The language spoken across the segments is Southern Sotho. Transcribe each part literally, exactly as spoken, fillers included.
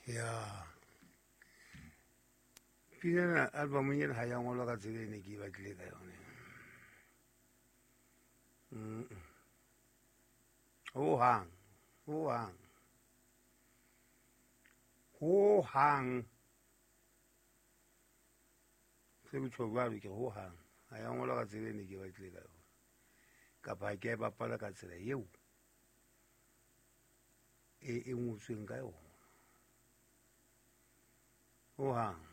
Ya pina ena album ena ha ya ngolwa ka tsela e ne ke e batlile ka yone. Ho hang, ho hang, ho hang. Se botjho jwalo ke ho hang. Ha ya ngolwa ka tsela e ne ke e batlile ka yona. Kapa ha ke a e bapala ka tsela eo e e ngotsweng ka yona. Ho hang.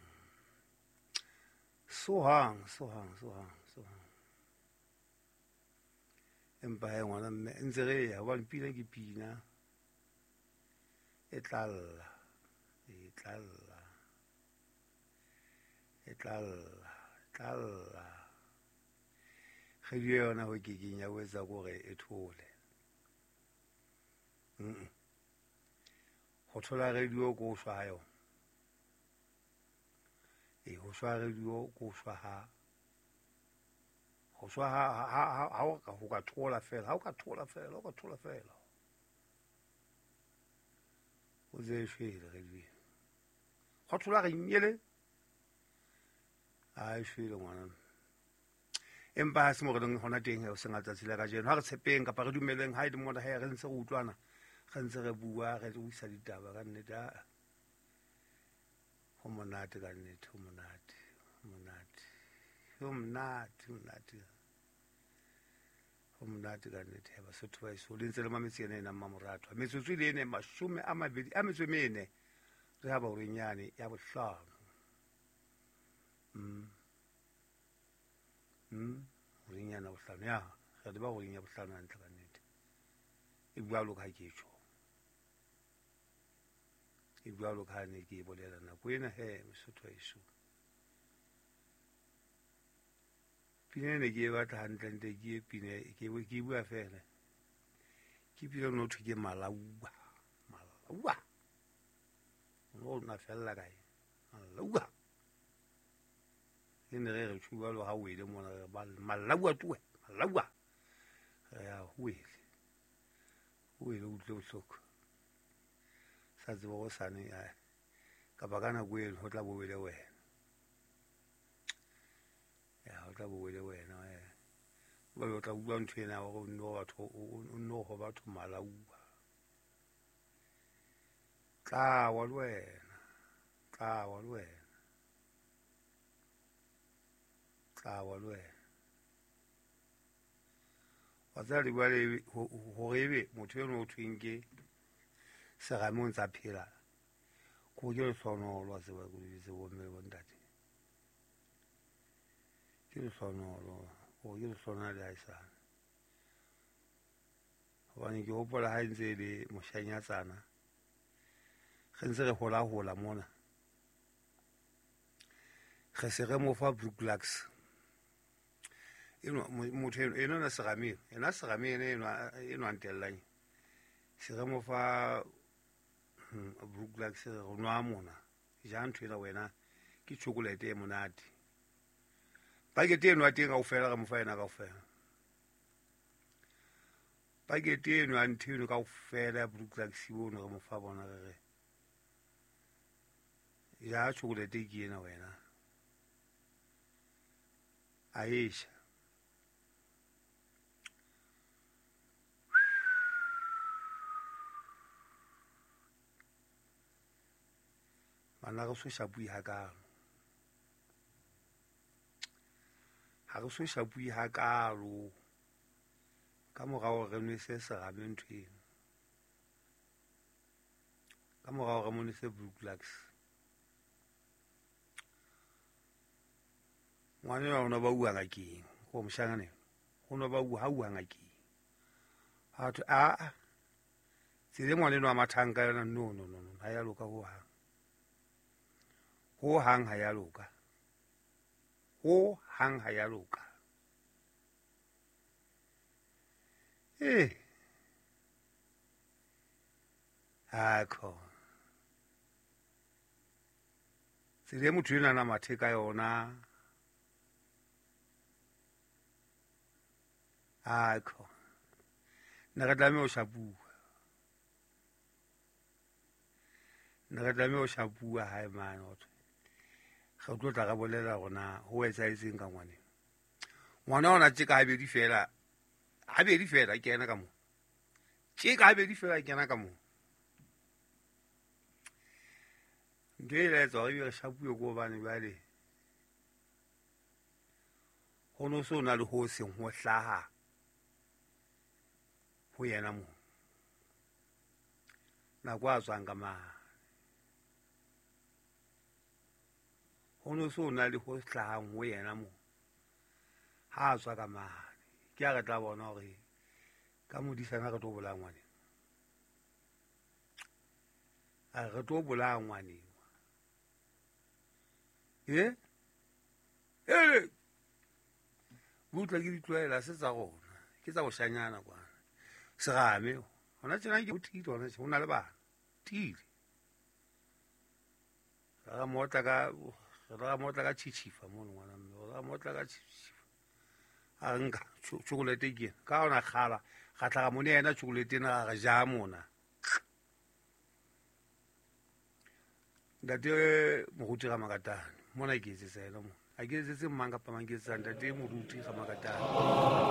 So hang, so hang, so hang, so hang. Empa he ngwana mme ntse re ya hobane pina ke pina e tla lla, e tla lla, e tla lla, e tla lla. Kgwedi yona ho kekeng ya ho etsa kore e thole. Mm. Ho thola radio ko shwa ha yona. E ho shwa radio ko shwa ha. Ho shwa ha ha ha ha o ka ho ka thola fela, ha o ka thola fela, o ka thola fela. O ze shwele radio. Ho thola re nyele. A e shwele ngwana. Empa ha se mo re leng hona teng he o seng tsatsi la kajeno. Ha re tshepeng kapa re dumeleng ha e le mona he re ntse re utlwana, re ntse re bua, re uisa ditaba ka nnete. Ho monate ka nnete, ho monate, ho monate. Ho monate, ho monate. Ho monate ka nnete he Basotho ba eso. Le ntse le mametse ena ena Mmamoratwa. Metsotso e le ene mashome a mabedi a metso e mene. Re ha ba horeng yane ya bohlano. Mm. Mm, horeng yana bohlano ya. Re le ba horeng ya bohlano hantle ka nnete. E bua lo ka ke tjho. E bua lo ka ne ke bolela nako ena he Mosotho eso. Pina ne ke e batla hantle ntle ke e pina ke ke bua fela. Ke pina no thwe ke Malaua. Malaua. No na fella kae. Malaua. E ne re re tjhuwa lo ha wele mona re ba Malaua tuwe. Malaua. Re ya wele. Wele o utlwe bohloko. Sa tseba go sane ya kapa ka nako eno ho tla bo wele wena. Ya ho tla bo wele wena eh. Ba o tla utlwa ntho ena hore o nno batho o nno ho batho Malaua. Tla wa le wena. Tla wa le wena. Tla wa le wena. Wa tseba le bua le hore ebe motho eno o thweng ke serame o ntsa phela. Ko ke lehlohonolo wa tseba ko lebitse bo mme le bo ntate. Ke lehlohonolo, o ke lehlohonolo le haesale. Hobane ke hopola ha e ntse e le moshanyatsana. Re ntse re hola-hola mona. Re se re mo fa Brooklux. Eno motho eno eno na serame, ena serame ena eno eno a ntellang. Se re mo fa Brooklux re nwa mona. Ja ntho ena wena ke chocolate e monate. Pakete eno ya teng kaofela re mo fa yena kaofela. Pakete eno ya ntho eno kaofela ya Brooklux ono re mo fa bona re re. Ja chocolate ke ena wena. A esha. Bana re so shapui hakalo. Ha re so shapui hakalo. Ka morao re nwese serame ntho eno. Ka morao re mo nwese Brooklux. Ngwana enwa o no ba uwa ngakeng. Ko moshanyana enwa. O no ba uwa ha uwa ngakeng. Ha thwe a a. Tsela e ngwana enwa a mathang ka yona no no no no ha ya loka ho hang. Ho hang ha ya loka. Ho hang ha ya loka. Eh. Akho. Tsela e motho enwa na mathe ka yona. Akho. Ne re tlameha ho shapuwa. Ne re tlameha ho shapuwa hae mane hothwe re tlo tla re bolela hore na ho etsahetseng ka ngwaneng. Ngwana ona tje ka habedi fela, habedi fela ke yena ka moo. Tje ka habedi fela ke yena ka moo. Ntho e la etsa hore ebe re shapuwe ke hobane jwale ho no so na le ho seng ho hlaha ho yena moo. Nako a tswang ka mane. Ho no so na le ho hlahang ho yena moo. Ha a tswa ka mane. Ke ha re tla bona hore ka modisana re tlo bolaya ngwaneng. A re tlo bolaya ngwaneng. E? Ele! Butla ke ditlwaela se tsa rona. Ke tsa boshanyana kwana. Serame. Hona tjena ke o tiile hona tjena. Ho na le bana. Tiile. Re motla ka re motla ka tjhitjhifa mono ngwana mme. Re motla ka tjhitjhifa. A nka chocolate ke ena. Ka ona kgala ga tlhaga mone yena chocolate ena ga re ja mona. Ntate Moruti Ramakatane mona ke etsetsa yena mona. Ha ke etsetse mang kapa mang, ke etsetsa ntate Moruti Ramakatane.